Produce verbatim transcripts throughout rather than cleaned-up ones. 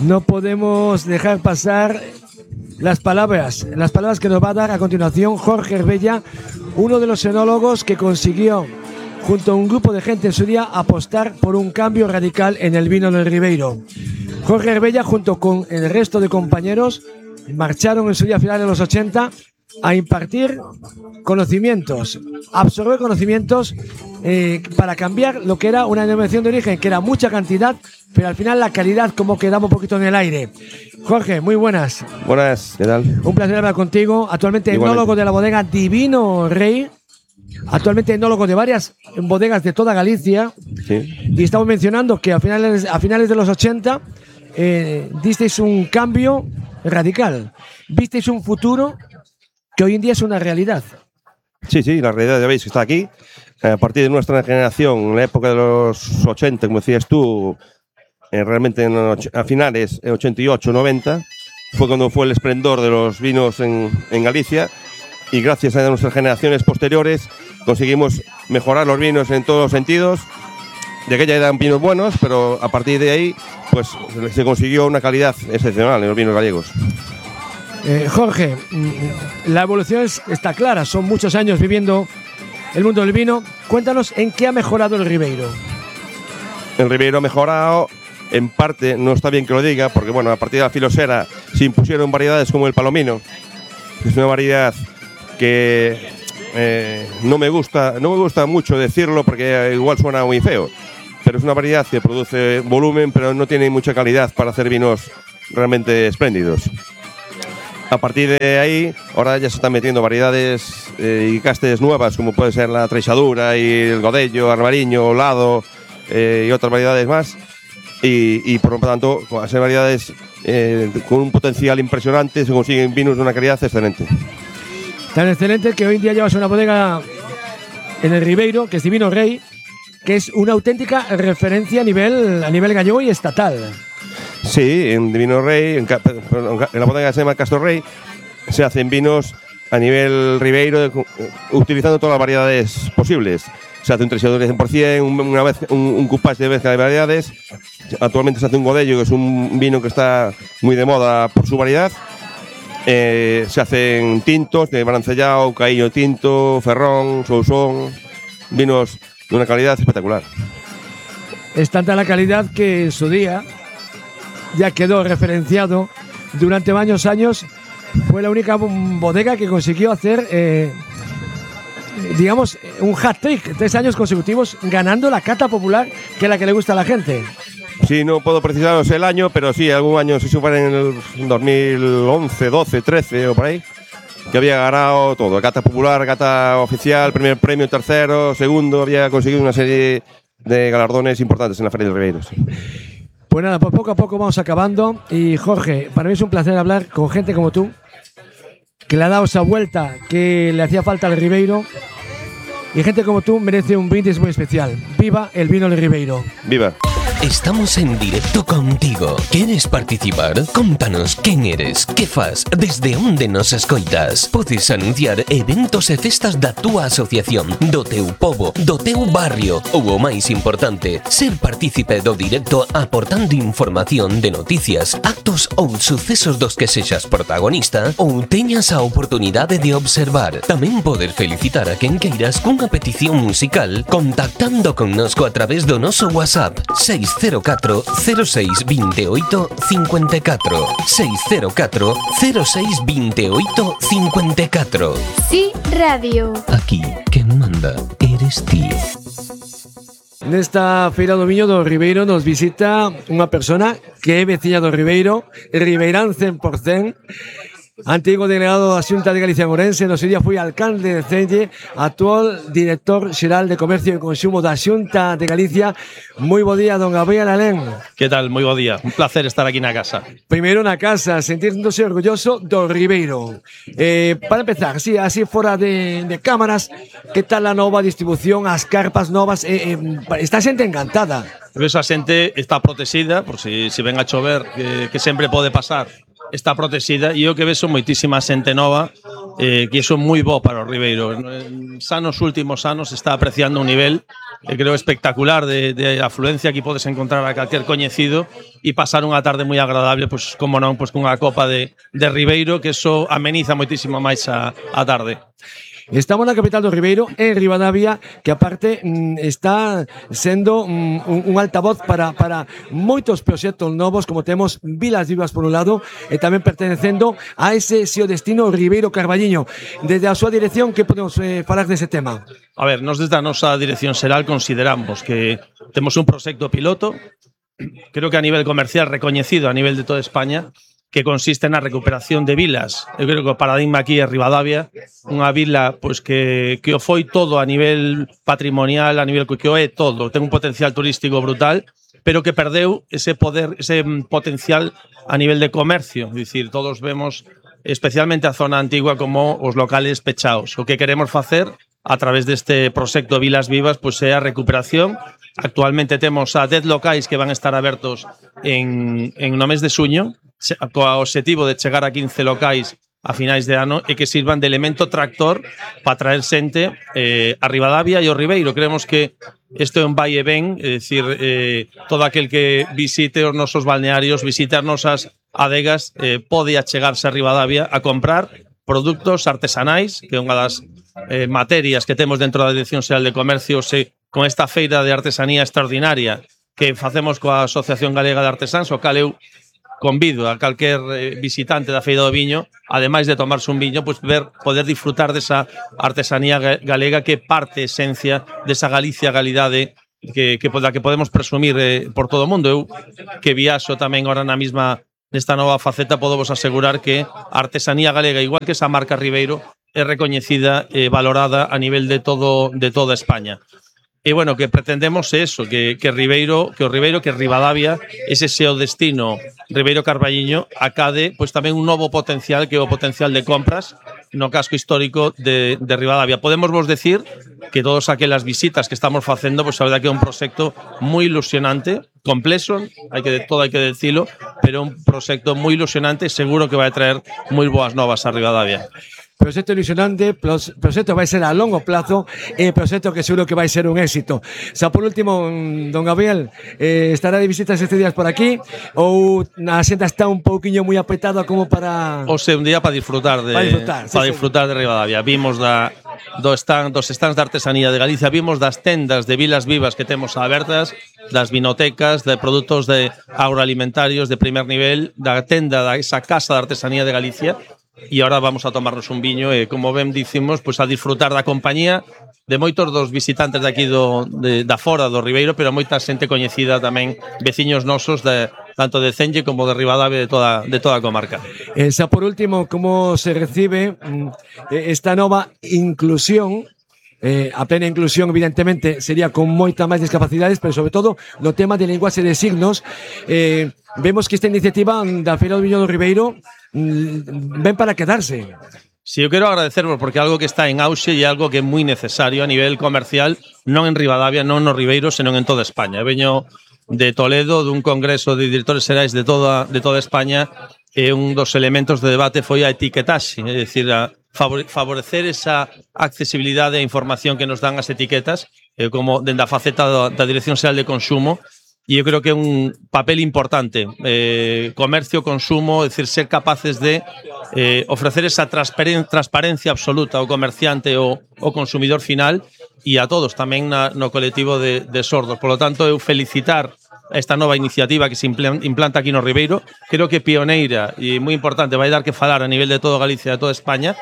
no podemos dejar pasar las palabras, las palabras que nos va a dar a continuación Jorge Herbella, uno de los enólogos que consiguió, junto a un grupo de gente en su día, apostar por un cambio radical en el vino del Ribeiro. Jorge Herbella, junto con el resto de compañeros, marcharon en su día, a finales de los ochenta, a impartir conocimientos, absorber conocimientos eh, para cambiar lo que era una denominación de origen, que era mucha cantidad, pero al final la calidad como quedaba un poquito en el aire. Jorge, muy buenas. Buenas, ¿qué tal? Un placer hablar contigo. Actualmente Igualmente. Enólogo de la bodega Divino Rey, actualmente enólogo de varias bodegas de toda Galicia. Sí. Y estamos mencionando que a finales, a finales de los ochenta eh, disteis un cambio radical, visteis un futuro que hoy en día es una realidad. Sí, sí, la realidad ya veis que está aquí. A partir de nuestra generación, en la época de los ochenta, como decías tú, eh, realmente en och- a finales, en ochenta y ocho, noventa, fue cuando fue el esplendor de los vinos en, en Galicia, y gracias a nuestras generaciones posteriores conseguimos mejorar los vinos en todos los sentidos. De aquella eran vinos buenos, pero a partir de ahí pues se consiguió una calidad excepcional en los vinos gallegos. Eh, Jorge, la evolución es, está clara, son muchos años viviendo el mundo del vino. Cuéntanos en qué ha mejorado el Ribeiro. El Ribeiro ha mejorado, en parte, no está bien que lo diga, porque bueno, a partir de la filosera se impusieron variedades como el palomino, que es una variedad que eh, no me gusta, no me gusta mucho decirlo porque igual suena muy feo, pero es una variedad que produce volumen, pero no tiene mucha calidad para hacer vinos realmente espléndidos. A partir de ahí, ahora ya se están metiendo variedades eh, y castes nuevas, como puede ser la Treixadura y el Godello, Arbariño, Lado eh, y otras variedades más. Y, y por lo tanto, con esas variedades eh, con un potencial impresionante, se consiguen vinos de una calidad excelente. Tan excelente que hoy en día llevas una bodega en el Ribeiro, que es Divino Rey, que es una auténtica referencia a nivel, a nivel gallego y estatal. Sí, en Divino Rey, en, en la bodega que se llama Castro Rey, se hacen vinos a nivel Ribeiro, utilizando todas las variedades posibles. Se hace un Treixadura de cien por ciento, un, una vez, un, un cupage de mezcla de variedades. Actualmente se hace un Godello, que es un vino que está muy de moda por su variedad. Eh, se hacen tintos de Barancellao, Caíño Tinto, Ferrón, Sousón, vinos de una calidad espectacular. Es tanta la calidad que en su día ya quedó referenciado durante varios años. Fue la única bodega que consiguió hacer, eh, digamos, un hat-trick, tres años consecutivos ganando la cata popular, que es la que le gusta a la gente. Sí, no puedo precisaros el año, pero sí, algún año, si supone en el dos mil once, doce, trece o por ahí, que había ganado todo, cata popular, cata oficial, primer premio, tercero, segundo, había conseguido una serie de galardones importantes en la Feria del Ribeiro. Sí. Pues nada, pues poco a poco vamos acabando. Y Jorge, para mí es un placer hablar con gente como tú, que le ha dado esa vuelta que le hacía falta al Ribeiro. Y gente como tú merece un brindis muy especial. ¡Viva el vino del Ribeiro! ¡Viva! Estamos en directo contigo. ¿Quieres participar? Contanos quen eres, que fas, desde onde nos escoitas. Podes anunciar eventos e festas da túa asociación, do teu pobo, do teu barrio ou o máis importante, ser partícipe do directo aportando información de noticias, actos ou sucesos dos que sexas protagonista ou teñas a oportunidade de observar. Tamén poder felicitar a quen queiras cunha petición musical contactando connosco a través do noso WhatsApp seis cero catro cero seis vinte e oito cincuenta e catro seis cero catro cero seis vinte e oito cincuenta e catro. Sí, Radio. Aquí, quen manda eres ti. Nesta feira do viño do Ribeiro nos visita unha persona que é veciña do Ribeiro, ribeirán cen por cento, antigo delegado da Xunta de Galicia en Ourense, no seu día foi alcalde de Celle, actual director xeral de Comercio e Consumo da Xunta de Galicia. Moi bo día, don Gabriel Alén. Que tal? Moi bo día. Un placer estar aquí na casa. Primeiro na casa, sentíndose orgulloso do Ribeiro. Eh, para empezar, así, así fora de, de cámaras, que tal a nova distribución, as carpas novas? Eh, eh, está xente encantada. Esa xente está protexida, por si, si ven a chover, que, que sempre pode pasar. Está protexida e o que ves son moitísima xente nova eh, que iso é moi bo para o Ribeiro. Xa nos últimos anos está apreciando un nivel eh, creo espectacular de, de afluencia. Aquí podes encontrar a calquer coñecido e pasar unha tarde moi agradable, pois como non, pois cunha copa de, de Ribeiro, que eso ameniza moitísimo máis a, a tarde. Estamos na capital do Ribeiro, en Ribadavia, que aparte mm, está sendo mm, un, un altavoz para, para moitos proxectos novos, como temos Vilas Vivas por un lado, e tamén pertenecendo a ese xeo destino Ribeiro Carballiño. Desde a súa dirección, que podemos eh, falar dese tema? A ver, nos desde a nosa dirección xeral consideramos que temos un proxecto piloto, creo que a nivel comercial recoñecido a nivel de toda España, que consiste na recuperación de vilas. Eu creo que o paradigma aquí é Ribadavia, unha vila pois que, que o foi todo a nivel patrimonial, a nivel que o é todo, ten un potencial turístico brutal, pero que perdeu ese poder, ese potencial a nivel de comercio. É dicir, todos vemos especialmente a zona antigua como os locales pechados. O que queremos facer a través deste proxecto Vilas Vivas pois é a recuperación. Actualmente temos a dez locais que van a estar abertos en, en no mes de xuño, co obxectivo de chegar a quince locais a finais de ano e que sirvan de elemento tractor para traer xente eh, a Ribadavia e o Ribeiro. Creemos que isto é un vai e ven, é dicir, eh, todo aquel que visite os nosos balnearios, visite as nosas adegas, eh, pode achegarse a Ribadavia a comprar produtos artesanais, que é unha das eh, materias que temos dentro da Dirección Xeral de Comercio, se, con esta feira de artesanía extraordinaria que facemos coa Asociación Galega de Artesáns, o cal eu convido a calquer visitante da Feira do Viño, ademais de tomarse un viño, pues ver, poder disfrutar desa artesanía galega que parte esencia desa Galicia, galidade que, que, da que podemos presumir eh, por todo o mundo. Eu que viaxo tamén ahora na mesma nesta nova faceta, podo vos asegurar que a artesanía galega, igual que esa marca Ribeiro, é recoñecida e valorada a nivel de todo de toda España. E bueno, que pretendemos é eso, que, que Ribeiro, que o Ribeiro, que Ribadavia, ese xeo destino Ribeiro Carballiño, acade pois tamén un novo potencial, que é o potencial de compras no casco histórico de, de Ribadavia. Podemos vos decir que todas aquelas visitas que estamos facendo, pois a verdade que é un proxecto moi ilusionante, complexo, hai que todo hai que decilo, pero un proxecto moi ilusionante e seguro que vai traer moi boas novas a Ribadavia. Proxecto ilusionante, proxecto vai ser a longo plazo e proxecto que seguro que vai ser un éxito. Xa por último, don Gabriel, eh, estará de visitas estes días por aquí ou a xenta está un pouquiño moi apretada como para... O sea, un día para disfrutar de para disfrutar, sí, para sí. disfrutar de Ribadavia. Vimos da do stand, dos stands de artesanía de Galicia, vimos das tendas de Vilas Vivas que temos abertas, das vinotecas, de produtos de agroalimentarios de primer nivel, da tenda da esa casa de artesanía de Galicia. E ahora vamos a tomarnos un viño e, como ben dicimos, pues a disfrutar da compañía de moitos dos visitantes de aquí do, de, da fora do Ribeiro, pero moita xente coñecida tamén, veciños nosos de, tanto de Cenlle como de Ribadavia, de toda, de toda a comarca. E xa por último, como se recibe esta nova inclusión? Eh, a plena inclusión, evidentemente, sería con moita máis discapacidades, pero sobre todo no tema de linguaxe de signos. Eh, vemos que esta iniciativa da Feira do Viño do Ribeiro mm, ven para quedarse. Sí, eu quero agradecervos porque é algo que está en auxe e é algo que é moi necesario a nivel comercial, non en Ribadavia, non no Ribeiro, senón en toda España. Eu veño de Toledo, dun congreso de directores xerais de toda, de toda España, e un dos elementos de debate foi a etiquetaxe, é dicir, a favorecer esa accesibilidade e información que nos dan as etiquetas, eh, como dende a faceta da, da Dirección Xeral de Consumo, e eu creo que é un papel importante. Eh, comercio, consumo, é dicir, ser capaces de eh, ofrecer esa transparencia absoluta ao comerciante ou ao consumidor final e a todos, tamén na, no colectivo de, de sordos. Por lo tanto, eu felicitar esta nova iniciativa que se implanta aquí no Ribeiro, creo que pioneira e moi importante, vai dar que falar a nivel de todo Galicia e de toda España,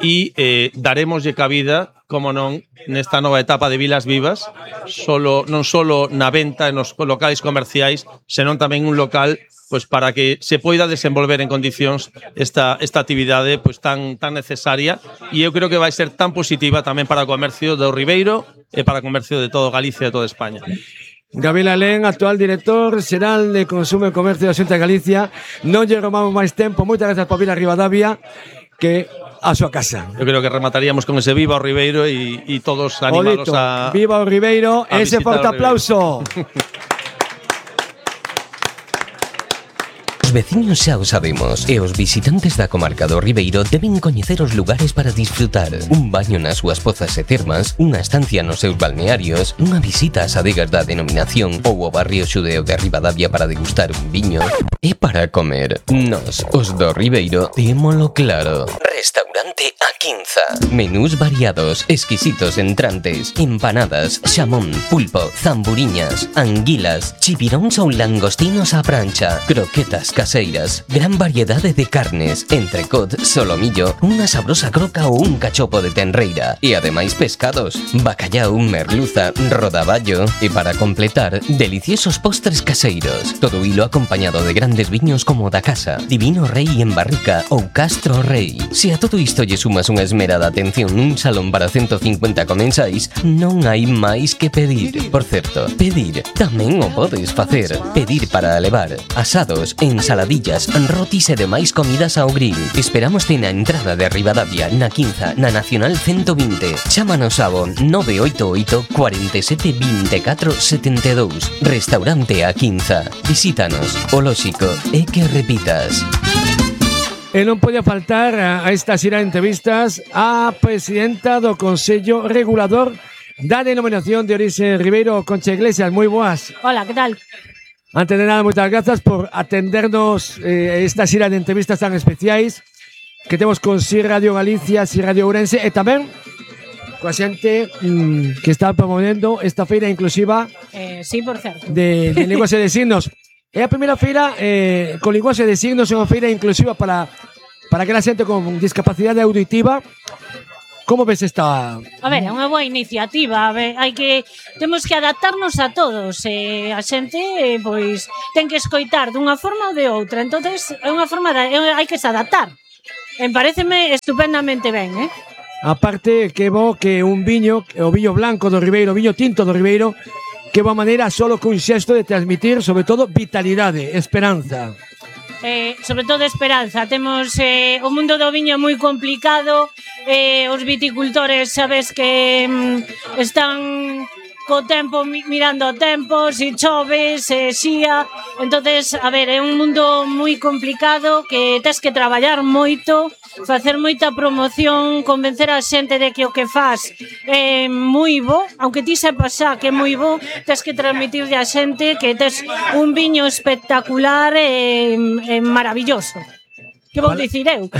e eh, daremoslle cabida, como non, nesta nova etapa de Vilas Vivas, solo, non solo na venta en os locais comerciais, senón tamén un local pues, para que se poida desenvolver en condicións esta, esta actividade pues, tan, tan necesaria, e eu creo que vai ser tan positiva tamén para o comercio do Ribeiro e para o comercio de todo Galicia e de toda España. Gabriel Alén, actual director xeral de Consumo e Comercio da Xunta de Galicia. Non lle robamos máis tempo. Moitas grazas por vir a Ribadavia, que a súa casa. Eu creo que remataríamos con ese viva o Ribeiro e, e todos animados a... Viva o Ribeiro, ese forte aplauso. veciños xa o sabemos e os visitantes da comarca do Ribeiro deben coñecer os lugares para disfrutar. Un baño nas súas pozas e termas, unha estancia nos seus balnearios, unha visita ás adegas da denominación ou ao barrio xudeo de Ribadavia para degustar un viño. E para comer, nós, os do Ribeiro, témolo claro. Restaurante A Quinza. Menús variados, exquisitos entrantes, empanadas, xamón, pulpo, zamburiñas, anguilas, chipiróns ou langostinos á prancha, croquetas caseiras, gran variedade de carnes, entrecot, solomillo, unha sabrosa croca ou un cachopo de tenreira e ademais pescados, bacallau, merluza, rodaballo e para completar, deliciosos postres caseiros. Todo hilo acompañado de grandes viños como da casa, Divino Rei en barrica ou Castro Rei. Se a todo isto lle sumas unha esmerada atención nun salón para ciento cincuenta comensais, non hai máis que pedir. Por certo, pedir tamén o podes facer. Pedir para levar asados, ensaladillas, rotis e demais comidas ao grill. Esperámoste na entrada de Ribadavia, na Quinza, na Nacional ciento vinte. Chámanos ao nove oito oito, cuatro sete, dos catro sete dous. Restaurante A Quinza. Visítanos. O lóxico é que repitas. E non pode faltar a esta xira de entrevistas a presidenta do Consello Regulador da Denominación de Orixe Ribeiro, Concha Iglesias. Moi boas. Hola, que tal? Antes de nada, moitas grazas por atendernos eh, esta xira de entrevistas tan especiais que temos con Si Radio Galicia, Si Radio Ourense e tamén coa xente mm, que está promovendo esta feira inclusiva eh, sí, por certo. de, de linguaxe de signos. É a primeira feira eh, con linguaxe de signos, é unha feira inclusiva para, para aquela xente con discapacidade auditiva. Como ves esta? A ver, é unha boa iniciativa. A ver, hai que temos que adaptarnos a todos. Eh, a xente eh, pois ten que escoitar dunha forma ou de outra. Entonces, é unha forma de, é, hai que se adaptar. Me pareceme estupendamente ben, eh? Aparte que bo que un viño, o viño blanco do Ribeiro, o viño tinto do Ribeiro, que boa maneira solo cun xesto de transmitir, sobre todo, vitalidade, esperanza. Eh, sobre todo esperanza. Temos eh, o mundo do viño moi complicado, eh, os viticultores sabes que mm, están co tempo mirando o tempo, si chove, se xía. Entonces, a ver, é un mundo moi complicado que tes que traballar moito, facer moita promoción, convencer a xente de que o que faz é moi bo, aunque ti sepas xa que é moi bo, tes que transmitirlle a xente que tes un viño espectacular e, e maravilloso. Que vou vale. dicir eu?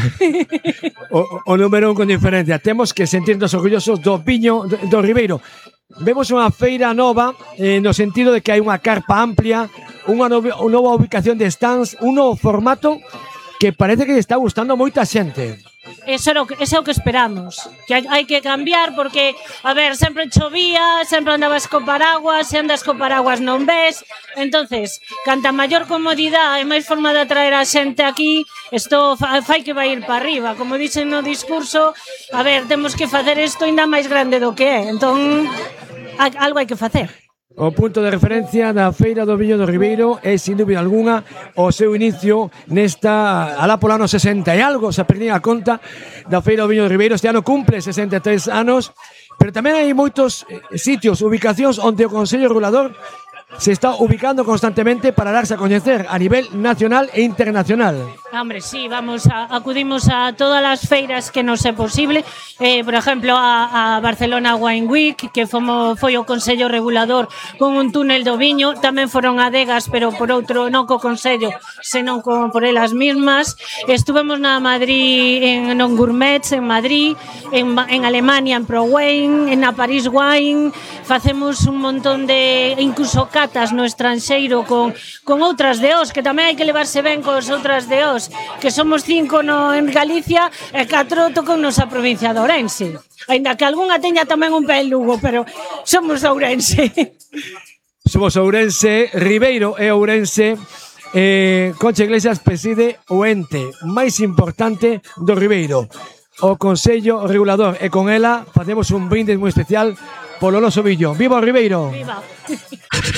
o, o número un con diferencia. Temos que sentirnos orgullosos do viño do, do Ribeiro. Vemos unha feira nova eh, no sentido de que hai unha carpa amplia, unha nova, unha nova ubicación de stands, un novo formato que parece que lle está gustando moita xente. Eso é o que, eso é o que esperamos. Que hai, hai que cambiar porque, a ver, sempre chovía, sempre andabas co paraguas, se andas co paraguas non ves. Entonces, canta maior comodidade e máis forma de atraer a xente aquí, isto fai que vai ir para arriba. Como dixen no discurso, a ver, temos que facer isto ainda máis grande do que é. Entón, algo hai que facer. O punto de referencia da Feira do Viño do Ribeiro é, sin dúbida alguna, o seu inicio nesta, alá polo ano sesenta e algo, se perdín a conta da Feira do Viño do Ribeiro. Este ano cumple sesenta e tres anos, pero tamén hai moitos sitios, ubicacións onde o Consello Regulador se está ubicando constantemente para darse a coñecer a nivel nacional e internacional. Hombre, sí, vamos, a, acudimos a todas as feiras que nos é posible. Eh, por exemplo, a, a Barcelona Wine Week, que fomo, foi o Consello Regulador con un túnel do viño. Tamén foron adegas, pero por outro, non co Consello, senón como por elas mismas. Estuvemos na Madrid, en non Gourmets, en Madrid, en, en Alemania, en ProWine, en a Paris Wine. Facemos un montón de, incluso catas no estranxeiro con, con outras de os, que tamén hai que levarse ben cos outras de os, que somos cinco no, en Galicia e catro tocan nosa provincia de Ourense. Ainda que algunha teña tamén un pé en Lugo, pero somos Ourense. Somos Ourense, Ribeiro e Ourense. eh, Concha Iglesias preside o ente máis importante do Ribeiro, o Consello Regulador, e con ela facemos un brindis moi especial polo noso viño. Viva o Ribeiro! Viva!